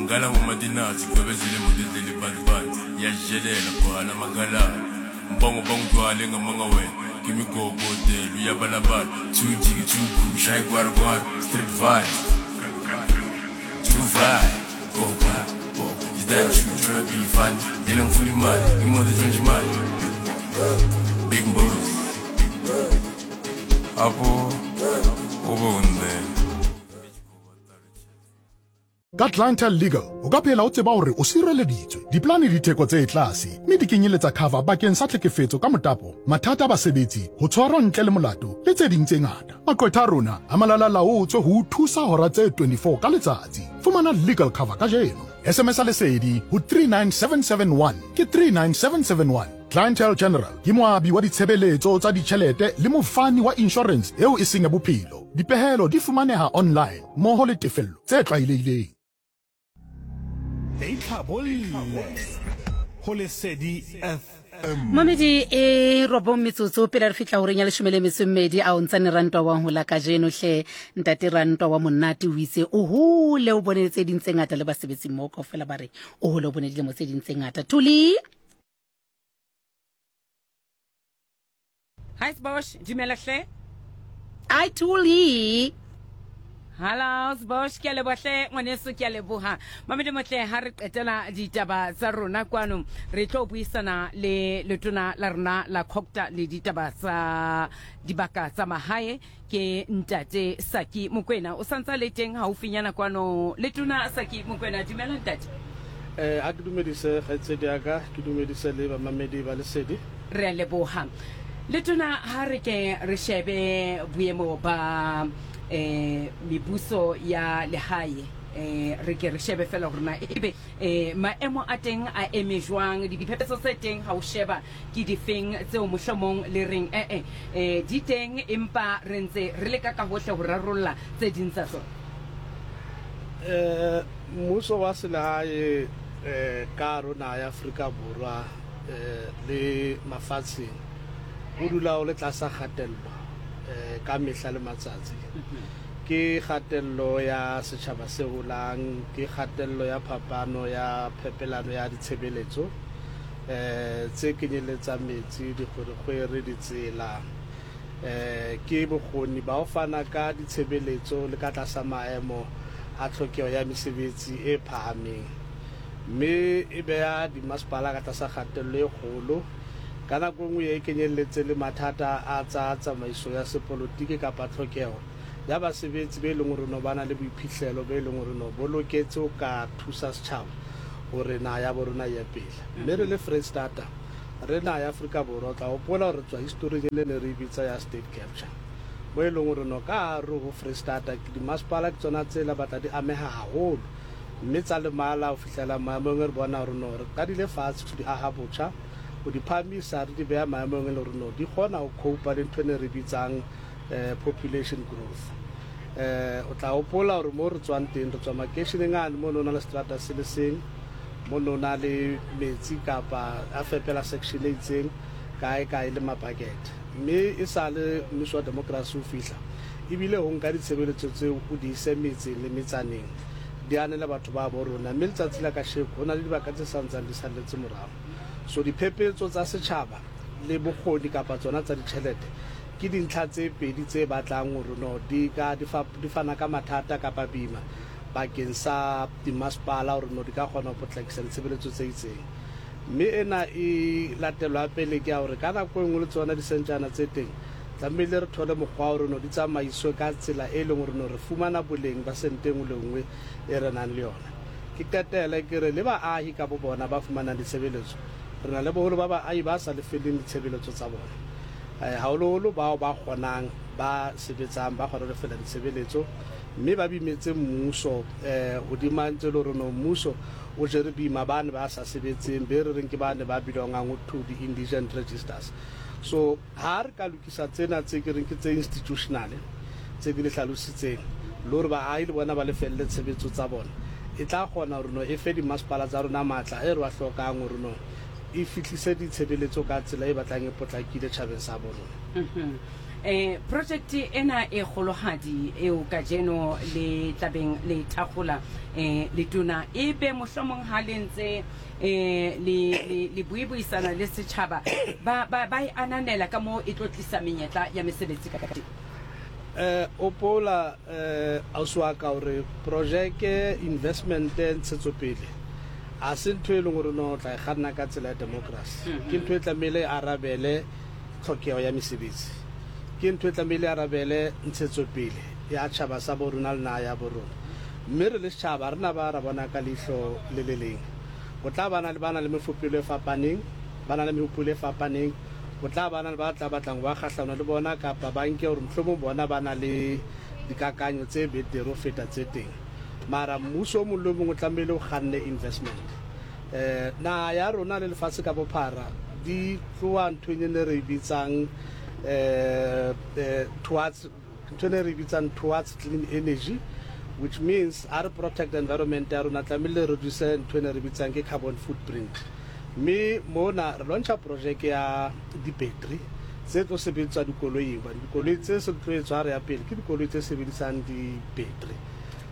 Ngala ngomadinatsi gwebezile imoto edlele ibantu yashelela gcwala amagalala Mbango bangigcwale ngamanga wena Ngimigogodelo uyabalabala Two jiki two cool shaye kwara kwara Street vibes Two vibe Go back go Is that you tryna be funny Yena ngifuna imali imoto etshontsha imali Big Mbozi Apo ube undele Ka Clientele Legal, o ka phela o tseba hore o sireleditswe. Dipolane di theko tse tlase mme di kenyeletsa cover bakeng sa tlhekefetso ka motapo, mathata a basebetsi, ho tshwarwa ntle le molato le tse ding tse ngata. Maqwetha a rona a malala-laotswe ho o thusa hora tse 24 ka letsatsi. Fumana legal cover kajeno. SMS-a Lesedi ho 39771 ke 39771. Clientele General ke moabi wa ditshebeletso tsa ditjhelete le mofani wa inshorense eo e seng ya bophelo. Dipehelo di fumaneha online mmoho le tefello tse tlwaelehileng. Itlhabolle go Lesedi FM. Mamedi e robong metsotso pele re fihla horeng ya leshome le metso e mmedi a o ntsane rantwa wa hola kajeno hle ntate rantwa wa monate o itse o hole o bone tse ding tse ngata le basebetsi mmoho kaofela ba re o hole o bone dilemo tse ding tse ngata Thuli. Hi Sbosh, dumela hle. Hi Thuli. Hello Sbosh, ke a leboha hle ngwaneso, ke a leboha. Mamedi motle ha re qetela ditaba tsa rona kwano, re tlo buisana le letona la rona la Cogta le ditaba tsa dibaka tsa mahae ke ntate Saki Mokwena. O santsa le teng haufinyana kwano. Letona Saki Mokwena, dumela ntate. Eh, a ke dumedise kgaitsedi ya ka, ke dumedise le bamamedi ba Lesedi. Re a leboha. Letona, ha re ke re shebe boemo ba eh mebuso ya lehae, eh re ke re shebe fela hore na ebe eh maemo a teng a eme jwang, diphephetso tse teng ha o sheba Ke difeng tseo mohlomong le reng e-e, e, di teng, empa re ntse re leka ka hohle ho rarolla tse ding tsa tsona? E, mmuso wa selehae e, ka hare ho naha ya Afrika Borwa e, le mafatsheng o dula o le tlasa kgatello e, ka mehla le matsatsi. Ke kgatello ya setjhaba se holang, ke kgatello ya phapano ya phepelano ya ditshebeletso, tse kenyeletsang metsi, dikgwerekgwere, ditsela, ke bokgoni ba ho fana ka ditshebeletso le ka tlasa maemo a tlhokeho ya mesebetsi e phahameng, mme e beha dimasepala ka tlasa kgatello e kgolo. Ka nako e nngwe e kenyelletse le mathata a tsa tsamaiso ya sepolotiki kapa tlhokeho ya basebetsi be leng hore no ba na le boiphihlelo be leng hore no bo loketse ho ka thusa setjhaba hore naha ya bo rona e ye pele. Mme re le Freistata, re naha ya Afrika Borwa, o tla hopola hore re tswa historing e le ne re e bitsa ya state capture, mo e leng hore no ka hare ho Freistata dimasepala ke tsona tse la batla di ameha haholo mme tsa lemala ho fihlela maemong e re bona hore no re qadile fatshe ho di aha botjha, ho di phahamisa, re di beha maemong e le hore no di kgona ho cope-a le ntho e ne re bitsang population growth. O tla hopola hore mo re tswang teng, re tswa makeisheneng ane mo ne ho na le seterata se le seng, mo ne ho na le metsi kapa a fepela section e itseng kae kae le mabakete. Mme e sa le mmuso wa democracy o fihla, ebile ho nka ditshebeletso tseo o di ise metseng le metsaneng, di anele batho ba bo rona. Mme letsatsi la kasheko ho na le dibaka tse sa ntsang di salletse morao. So diphephetso tsa setjhaba le bokgoni kapa tsona tsa ditjhelete Ke dintlha tse pedi tse batlang hore no di ka di fa di fana ka mathata kapa boima bakeng sa dimasepala hore no di ka kgona ho potlakisa ditshebeletso tse itseng. Mme ena e latelwa pele ke ya hore ka nako e nngwe le tsona disentjana tse teng tlamehile re thole mokgwa wa hore no di tsamaiswe ka tsela e leng hore no re fumana boleng ba sente e nngwe le nngwe e re nang le yona. Ke qetele ke re le baahi ka bo bona ba fumanang ditshebeletso, re na le boholo ba baahi ba sa lefelleng ditshebeletso tsa bona. Haholoholo bao ba kgonang, ba sebetsang, ba kgona ho lefella ditshebeletso mme ba bimetse mmuso hodima ntse e le hore no mmuso o jere boima bane ba sa sebetseng be re reng ke bane ba belongang to the indigent registers. So ha re ka lokisa tsena tse ke reng ke tse institutional tse ke di hlalositseng le hore baahi le bona ba lefelle tshebetso tsa bona, e tla kgona hore no e fe dimasepala tsa rona matla e re wa hlokang hore no e fihlise ditshebeletso ka tsela e batlang e potlakile tjhabeng sa bo rona. Um project ena e kgolohadi eo kajeno le tlabeng le thakgola um letona e be mohlomong ha le ntse um le le le buibuisana le setjhaba ba ba ba e ananela ka moo e tlo tlisa menyetla ya mesebetsi ka teng. Eh opola eh ausi wa ka hore projeke investment ntshetsopele a se ntho e leng hore no tla e kganna ka tsela ya democracy ke ntho e tlamehile e arabele tlhokeho ya mesebetsi ke ntho e tlamehile e arabele ntshetsopele ya tjhaba sa bo rona le naha ya bo rona mme re le setjhaba re na ba ra bona ka leihlo le le leng ho tla ba na le ba na le mefopelo e fapaneng ba na le mehopolo e fapaneng ho tla ba na le ba tla batlang ho ba kgahlano le bona kapa ba nke hore mohlomong bona ba na le dikakanyo tse betere ho feta tse teng mara mmuso o mong le o mong o tlamehile o kganne investment Eh, naha ya rona le lefatshe ka bophara di tloha nthong e ne re e bitsang eh, eh, towards ntho e ne re e bitsang towards clean energy which means ha re protect environment ya rona tlamehile re reduce ntho e ne re bitsang ke carbon footprint mme mona re launcha projeke ya di-battery tse tlo sebediswa dikoloing hobane dikoloi tse se tlo etswa re ya pele ke dikoloi tse sebedisang di-battery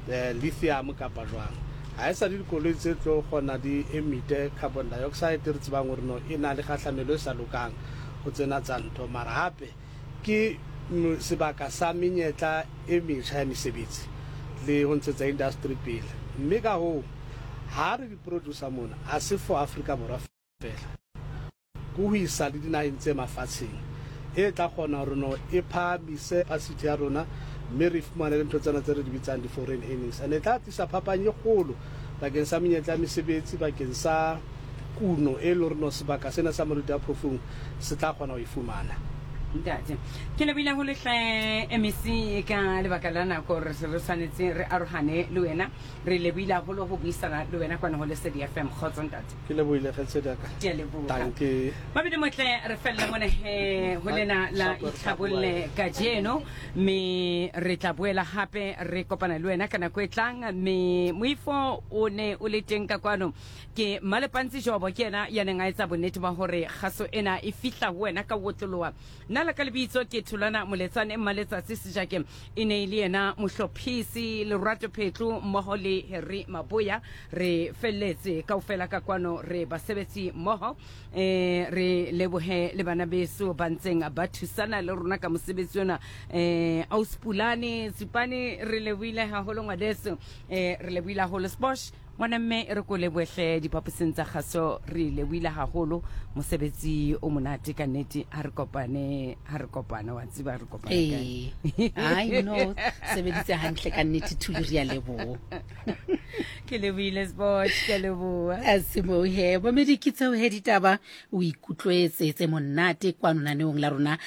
eh, lithium kapa jwang. Ga e sa le dikoloi tse tlo kgona di emite carbon dioxide re tsebang gore no e na le kgahlamelo e sa lokang go tsena tsa ntho mara gape ke sebaka sa menyetla e metjha ya mesebetsi le go ntshetsa industry pele mme ka hoo ha re di producer mona a se for Afrika Borwa fela. Ke ho isa le dinaheng tse mafatsheng e tla kgona hore no e phahamise capacity ya rona mme re fumane le ntho tsena tse re di bitsang di-foreign earnings. And e tla tlisa phapang e kgolo bakeng sa menyetla ya mesebetsi, bakeng sa kuno e leng hore no sebaka sena sa Moriti wa Phofung se tla kgona ho e fumana. Ntate, ke lebohile haholo hle MEC ka lebaka la nako re se re tshwanetse re arohane le wena. Re lebohile haholo ho buisana le wena kwano ho Lesedi FM. Kgotso ntate. Ke lebohile kgaitsedi ya ka. Ke a leboha. Dankie. Mabedi motle re fella mona he ho lena la itlhabolle kajeno mme re tla boela hape re kopana le wena ka nako e tlang mme moifo o ne o le teng ka kwano ke Malepantsi Jobo ke yena ya neng a etsa bonnete ba hore kgaso ena e fihla ho wena ka otloloha Nna la ka lebitso ke Thulwana Moletsane Mmaletsatsi Sejake e ne e le yena mohlophisi Lerato Phetlo mmoho le Harry Maboya re felletse kaofela ka kwano re basebetsi mmoho eh re lebohe le bana beso ba ntseng ba thusana le rona ka mosebetsi ona eh Auspulane Tsupane re lebohile haholo ngwaneso eh re lebohile haholo Sbosh Ngwana mme e re ko leboehle diphaposing tsa kgaso re lebohile haholo mosebetsi o monate ka nnete ha re kopane ha re kopane wa tseba re kopane kae ee ai no sebeditse hantle ka nnete thuli re a leboha ke lebohile Sbosh ke leboha a se moo he bomedi ke tseo he ditaba o ikutlwetse tse monate kwano naneong la rona la.